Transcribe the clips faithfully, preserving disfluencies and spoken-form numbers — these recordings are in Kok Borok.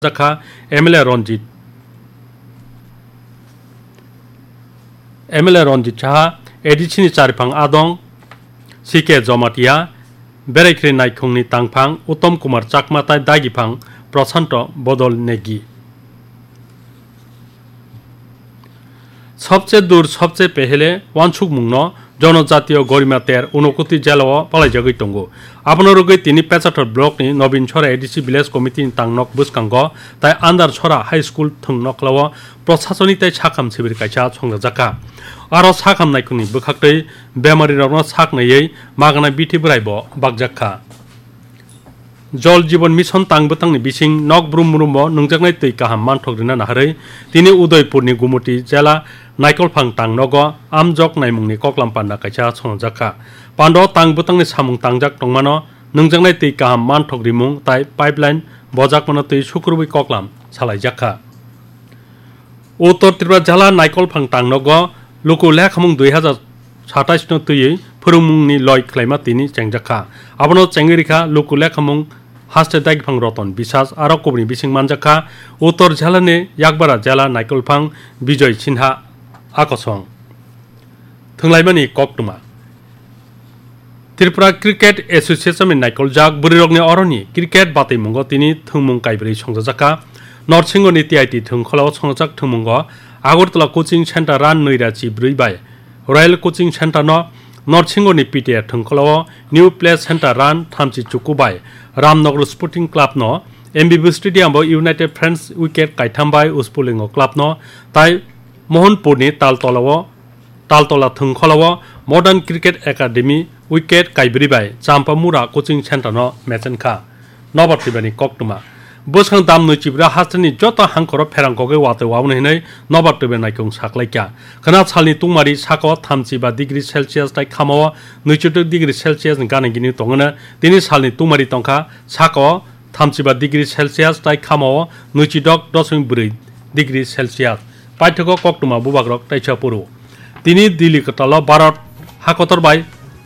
jakha M L A Ranjit, M L A Ranjit Saha, A D C ni Chariphang Adong, C K Jomatia, Beraikhri Naikhungni Tangphang Uttom Kumar Chakma tai Dagiphang Prashanto Bodol Negi. Sobche dur, sobche pehele wansukmungno Jonojatiyo Gorima Ter Unokoti jelao palaijagwi tongo. Abono rwgwi tini Pechathor blockni Nobin Sora A D C Village Committee ni tangnok bwskango tai Andar Sora High School thwng nokhlao prosasonik tai sakham sibir kaisa songjajakha. Aro sakham naikhungni bwkhaktwi bemarirokno sak naiwi magana bithi bwraibo bakjakha. Jol Jibon Mission tang bwtangni bising nok brum brumbo nwngjaknai twi kaham manthok rina naharwi tini Udaipurni Gumuti jela Naikolphang tang nogo amjok naimungni koklam panda kaisa songjakha. Pando tang bwtangni samung tangjak tongmano nwngjaknai twi kaham manthok rimung tai pipeline bojakmano twi sukrubwi koklam salaijakha. Uttor Tripura jala Naikolphang tang nogo luku lekhamung dui hazar satais no twiwi phwrwngmungni loi khlaima tini chengjakha. Abono chengwi rikha luku lekhamung haste dagiphang Roton Biswas aro kubuni bising manjakha Uttor jala ni Yakbara jala Naikolphang Bijoy Sinha akosong. Thwnglaimani koktwma. Tripura Cricket Association ni naikoljak bwrwirokni oroni cricket batwimungo tini thwngmung kaibrwi songjajakha. Norsingoni T I T thwngkholao songjak thwngmungo Agartala Coaching Center run nwi ra chi brwi bai Royal Coaching Center no Norsingoni P T A thwngkholao New Play Center run thamchi chuku bai Ramnagar Sporting Club no M B B Stadium bo United Friends wicket kaitham bai Uspulingo Club no tai Mohanpurni Taltolao Taltola thwngkholao Modern Cricket Academy wicket kaibrwi bai Champamura Coaching Center no mechenkha. Nobar twibani koktwma. Bwskang dam nwi chibra hasteni joto hangkhoro pherang kogwi watwi waboni hinwi nobar twibai naikung saklaikha. Khwna salni tungmari sako thamchi ba degree Celsius tai khamao nwichidok degree Celsius ni gana gini tongwno tini salni tungmari tongkha sako thamchiba degree Celsius tai khamao nwichidok dosmik bwrwi degree Celsius. Paithago koktwma bubagrok taisa puru. Tini Delhi kwtalo Bharat hakotor bai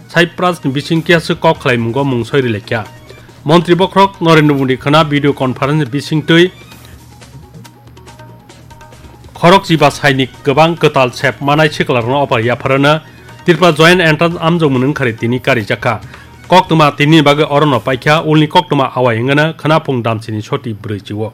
Cyprus ni bising kiyaswk kok khlaimungo mungsoi rilaikha. Montri bokhorok Narendra Modi khwna video conference bisingtwi khorok chiba sainik kwbang kwtal sep manai siklarokno opor yapharano Tripura Joint Entrance amjokmung wngkhari tini karijakha. Koktwma tini bagwi orono paikha, ulni koktwma awai wngano khwnaphung damsini soti brwi chio.